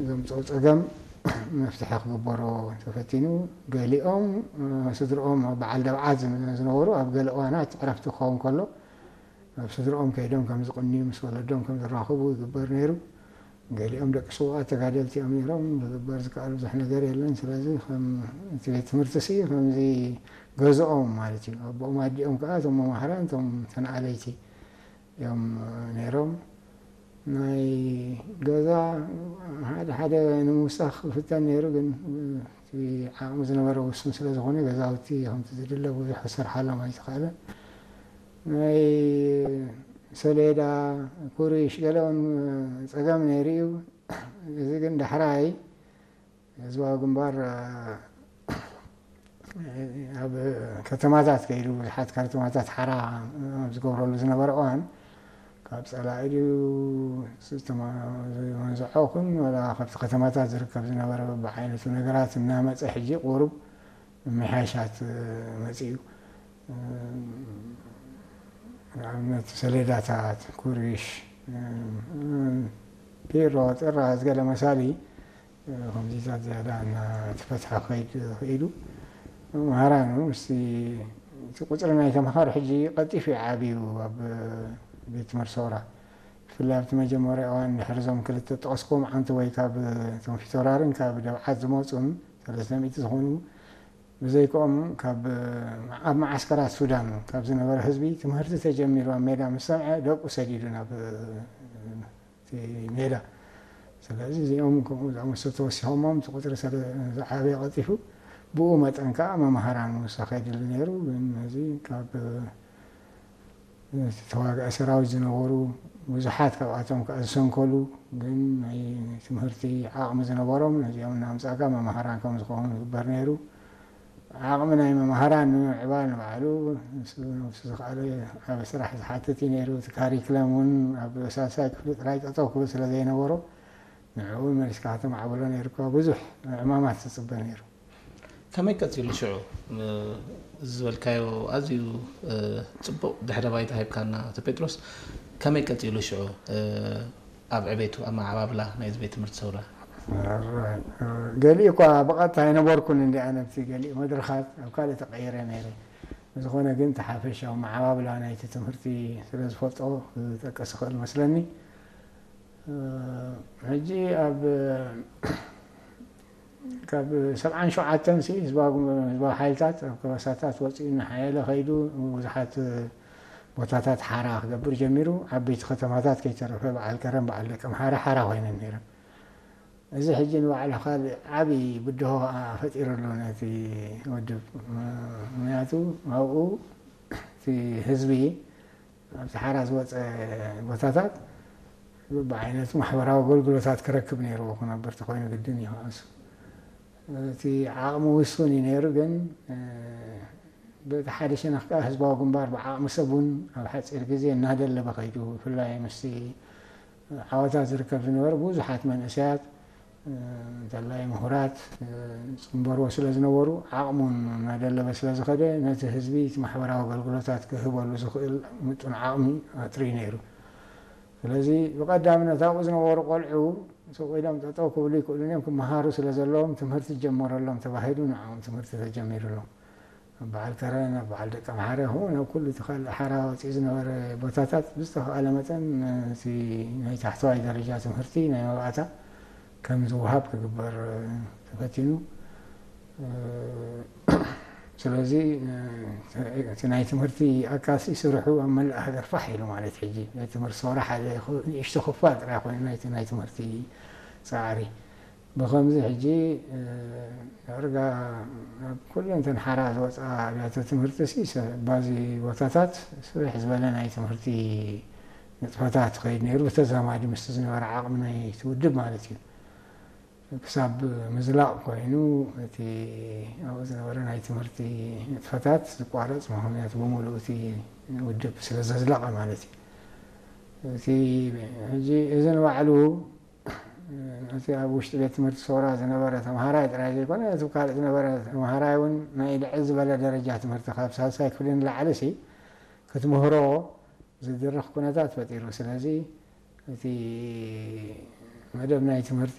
ዘምፅኦ ፀገም መፍትሒ ክግበሮ ተፈቲኑ። ገሊኦም ስድርኦም በዓል ደብዓት ዝነበሩ ኣብ ገለ እዋናት ዕረፍቲ ክኸውን ከሎ ኣብ ስድርኦም ከይዶም ከም ዝቕንዩ ምስ ወለዶም ከም ዝራኸቡ ይግበር ነይሩ። ገሊኦም ደቂ ስውኣት ተጋደልቲ እዮም ነይሮም። ዝግበር ዝከኣል ብዙሕ ነገር የለን። ስለዚ እቲ ቤት ትምህርቲ ሲ ከምዚ ገዝኦም ማለት እዩ። ኣቦኦም ኣዲኦም ከዓ እቶም መማህራን እቶም ተንኣለይቲ እዮም ነይሮም። ናይ ገዛ ሓደ ሓደ ንምውሳኽ ይፍተን ነይሩ፣ ግን እቲ ዓቕሚ ዝነበረ ውሱን ስለ ዝኾነ ገዛውቲ ከምቲ ዝድለ ብዙሕ ክሰርሓሎም ኣይተኽእለን። ናይ ሰሌዳ፣ ኩሪሽ ገለውን ፀገም ነይሩ እዩ። እዚ ግን ዳሕራይ ህዝባዊ ግንባር ኣብ ከተማታት ከይዱ ብዙሓት ካርቶማታት ሓራ ኣብ ዝገብረሉ ዝነበረ እዋን ካብ ፀላኢ ድዩ ዝተመንዝዖ ኹን ወላ ካብቲ ከተማታት ዝርከብ ዝነበረ በብዓይነቱ ነገራት እናመፀ ሕጂ ቁሩብ ምሕያሻት መፂኡ። ንኣብነት ሰሌዳታት፣ ኩሪሽ፣ ፒሮ፣ ጥራዝ ገለ መሳሊ ከምዚታት ዝያዳ እናተፈትሐ ክኸይድ ክኢሉ። መምሃራኑ ምስቲ እቲ ቁፅሪ ናይ ተምሃሮ ሕጂ ቀልጢፉ እዩ ዓብዩ ኣብ ቤት ትምህርቲ ሰውራ። ብፍላይ ኣብቲ መጀመርያ እዋን ድሕሪ እዞም ክልተ ጠቐስኩም ዓንተ ወይ ካብ እቶም ፊቶራርን ካብ ደብዓት ዝመፁን ሰለስተ ሚእቲ ዝኾኑ ብዘይክኦም ካብ ኣብ መዓስከራት ሱዳን ካብ ዝነበረ ህዝቢ ትምህርቲ ተጀሚሩ ኣብ ሜዳ ምስ ሰምዐ ደቁ ሰዲዱ ናብ እቲ ሜዳ። ስለዚ እዚኦም ከምኡ ዝኣመሰሉ ተወሲኾሞም እቲ ቁፅሪ ስለ ዝዓበየ ቀልጢፉ ብኡ መጠን ከዓ መምሃራን ምውሳኽ የድሊ ነይሩ። ግን እዚ ካብ እቲ ተዋጋኢ ሰራዊት ዝነበሩ ብዙሓት ካብኣቶም ከዓ ዝሰንከሉ ግን ናይ ትምህርቲ ዓቕሚ ዝነበሮም ነዚኦም እናምፃእካ መምሃራን ከም ዝኾኑ ይግበር ነይሩ። ዓቕሚ ናይ መምሃራን ንምምዕባል ንባዕሉ ንሱ ነብሱ ዝኸኣለ ዓቢ ስራሕ ዝሓትት እዩ ነይሩ። እቲ ካሪክለም እውን ኣብ ሳልሳይ ክፍሊ ጥራይ ጠጠው ክብል ስለ ዘይነበሮ ንዕኡ እውን መሊስካ ከተማዕብሎ ነይሩካ። ብዙሕ ዕማማት ዝፅበ ነይሩ። ከመይ ቀጺሉ ሽዑ? እ፣ እዚ ዝበልካዮ ኣዝዩ፣ እ፣ ጽቡቕ ድሕረ ባይታ ሂብካና ኣቶ ጴጥሮስ። ከመይ ቀጺሉ ሽዑ፣ እ፣ ኣብ ዕቤቱ፣ ኣብ መዓባብላ ናይዚ ቤት ትምህርቲ ሰውራ? ኣራይ፣ እ፣ ገሊኡ እኳ ብቐጥታ ኣይነበርኩን እንዲ ኣነ ኣብቲ ገሊኡ መድረኻት ኣብ ካልእ ተቐይረ ነይረ። ብዝኾነ ግን እቲ ሓፈሻዊ መዓባብላ ናይቲ ትምህርቲ ስለ ዝፈልጦ ክጠቅስ ይኽእል መስለኒ። እ፣ ሕጂ ኣብ፣ ካብ ሰብዓን ሸውዓተን ሲ ህዝባዊ፣ ህዝባዊ ሓይልታት ኣብ ከባሳታት ወፂኡ እናሓየለ ከይዱ ብዙሓት ቦታታት ሓራ ክገብር ጀሚሩ። ዓበይቲ ከተማታት ከይተረፈ በዓል ከረን በዓል ደቀምሓረ ሓራ ኮይነን ነይረን። እዚ ሕጂ ንባዕሉ ካልእ ዓብዪ ብድሆ ከዓ ፈጢሩ ኣሎ ነቲ ውድብ። ምኽንያቱ ኣብኡ እቲ ህዝቢ ኣብቲ ሓራ ዝወፀ ቦታታት ብዓይነቱ ማሕበራዊ ኣገልግሎታት ክረክብ ነይርዎ። ክነበር ተኮይኑ ግድን እዩ። ከኣሱ እቲ ዓቕሚ ውሱን እዩ ነይሩ። ግን እ፣ በቲ ሓደ ሸነኽ ከዓ ህዝባዊ ግንባር ብዓቕሚ ሰብ እውን ኣብ ሓፂር ግዜ እናደለበ ከይዱ፣ ብፍላይ ምስቲ ዓወታት ዝርከብ ዝነበረ ብዙሓት መንእሰያት እንተላይ ምሁራት፣ እ፣ ዝጽንበርዎ ስለ ዝነበሩ፣ ዓቕሙን እናደለበ ስለ ዝኸደ፣ ነቲ ህዝቢ እቲ ማሕበራዊ ኣገልግሎታት ክህበሉ ዝኽእል ምጡን ዓቕሚ ኣጥርዩ ነይሩ። ስለዚ፣ ብቐዳምነት ኣብኡ ዝነበሩ ቆልዑ ስቕ ኢሎም ጠጠው ክብሉ ይክእሉን እዮም፣ ክመሃሩ ስለ ዘለዎም ትምህርቲ ይጀመረሎም ተባሂሉ ንዕኦም ትምህርቲ ተጀሚሩሎም። ኣብ በዓል ከረን፣ ኣብ በዓል ደቀምሓረ፣ ከምኡ ናብ ኩሉ እቲ ካልእ ሓራ ወፂኡ ዝነበረ ቦታታት ብዝተኻእለ መጠን እቲ ናይ ታሕተዋይ ደረጃ ትምህርቲ ናይ መባእታ ከም ዝወሃብ ክግበር ተፈቲኑ። ስለዚ እቲ ናይ ትምህርቲ ኣካሲ ስርሑ ኣብ መላእ ሃገር ፋሕ ኢሉ ማለት ሕጂ ናይ ትምህርቲ ሰውራ ሓደ ንእሽቶ ክፋል ጥራይ ኮይኑ ናይቲ ናይ ትምህርቲ ፃዕሪ። ብኸምዚ ሕጂ፣ እ፣ ዳርጋ ኣብ ኩለን እተን ሓራ ዝወፅኣ ኣብያተ ትምህርቲ ሲ፣ ሰ-፣ ባዚ ቦታታት ስፍሕ ዝበለ ናይ ትምህርቲ ንጥፈታት ትኸይድ ነይሩ፣ ብተዛማዲ ምስቲ ዝነበረ ዓቕሚ ናይቲ ውድብ ማለት እዩ። ክሳብ ምዝላቕ ኮይኑ፣ እቲ ኣብኡ ዝነበረ ናይ ትምህርቲ ንጥፈታት ዝቋረፅ፣ ምኽንያቱ ብምሉእ እቲ ውድብ ስለ ዘዝለቐ ማለት እዩ። እቲ ሕጂ እዚ ንባዕሉ ነቲ ኣብ ውሽጢ ቤት ትምህርቲ ሰውራ ዝነበረ ተምሃራይ ጥራይ ዘይኮነ፣ ነቲ ካልእ ዝነበረ ተምሃራይ እውን ናይ ልዕል ዝበለ ደረጃ ትምህርቲ ካብ ሳልሳይ ክፍሊ ንላዕሊ ሲ ክትምህሮ ዝድርኽ ኩነታት ፈጢሩ። ስለዚ እቲ መደብ ናይ ትምህርቲ